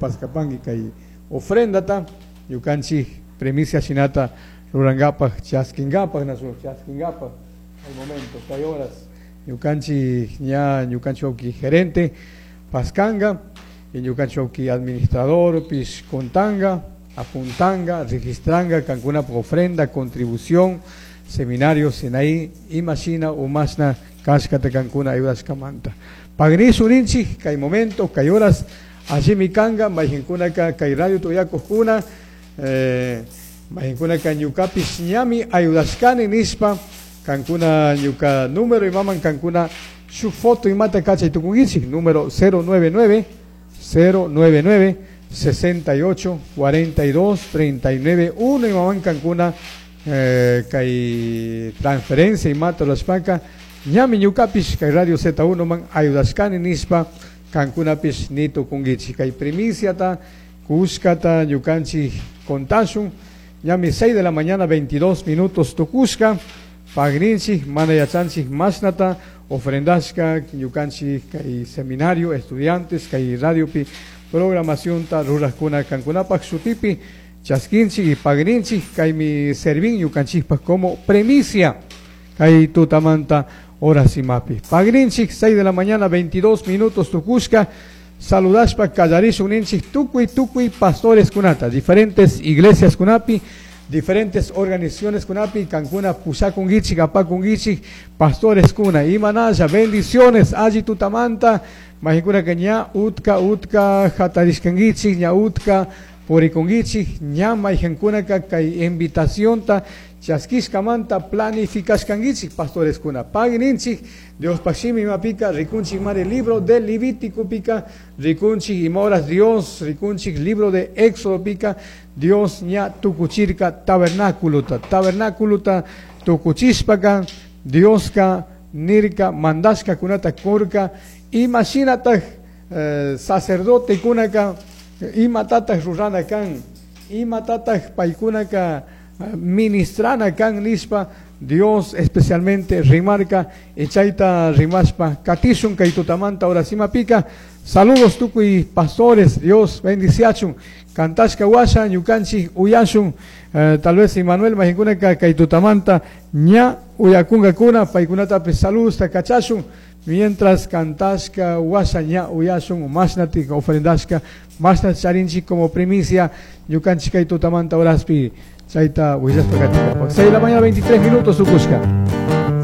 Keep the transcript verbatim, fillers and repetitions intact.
Paskapangi kay ofrendata ñukanchik primicia shinata rurankapaj chaskinkapak nasu chaskinkapak al momento kay horas ñukanchik ña ñukanchik wawki gerente paskanga y ñukanchik wawki administrador pish contanga apuntanga registranga kankunapaj ofrenda contribución seminario Sinaí imashina umashna kashkata kankuna ayudashkamanta pagrisu rinchik kay momento kay horas allimi kanga mayqinkunaka kay radio tuyakujkuna eh, mayqinkunaka ñukapish ñami ayudashkani nishpa kankuna ñuka número imaman kankuna shuk foto imata kachay tukunkichik número cero nueve nueve cero nueve nueve sesenta y ocho cuarenta y dos treinta y nueve uno imaman kankuna eh, kay transferencia imata rurashpaka ñami ñukapish kay radio Z uno man ayudashkani nishpa kankunapish ni tukunkichik kay primiciata kushkata ñukanchik contashun ñami seis de la mañana veintidós minutos tukushka pagrinchik mana yachanchik mashnata ofrendashka ñukanchik kay seminario estudiantes kay radiopi programacionta rurajkuna kankunapak shutipi chaskinchik y pagrinchik kaymi servin ñukanchikpak como premicia kay tutamanta horas imapi pagrinchik seis de la mañana veintidós minutos tukushka saludashpa kallarishun ninchik tukuy tukuy pastores kunata diferentes iglesias kunapi diferentes organizaciones kunapi kankuna pusakunkichik apakunkichik pastores kuna imanalla bendiciones alli tutamanta mayqinkunaka ña utka utka hatarishkankichik ña utka purikunkichik ña mayqinkunaka kay invitacionta chaskishkamanta planificashkankichik pastores kuna pagninchik Diospaj shimi imapika rikunchik mari libro de Levítico pika rikunchik ima horas Dios rikunchik libro de Éxodo pika Dios ña tukuchirka tabernáculota tabernáculota tukuchishpaka Dioska nirka mandashka kunata kurka imashinataj, eh, sacerdote kunaka imatataj rurana kan imatataj paykunaka ministrana kan nishpa Dios especialmente rimarca chayta rimashpa katishun kay tutamanta horas imapika saludos tukuy pastores Dios bendiciachun kantashka washa ñukanchik uyashun, eh, tal vez Immanuel mayqinkunaka kay tutamanta ña uyakunkakuna paykunatapis saludos kachashun mientras kantashka washa ña uyashun mashnatik ofrendashka mashna charinchik como primicia ñukanchik kay tutamanta horaspi chayta willashpa katikapaq seis de la mañana veintitrés minutos tukushka.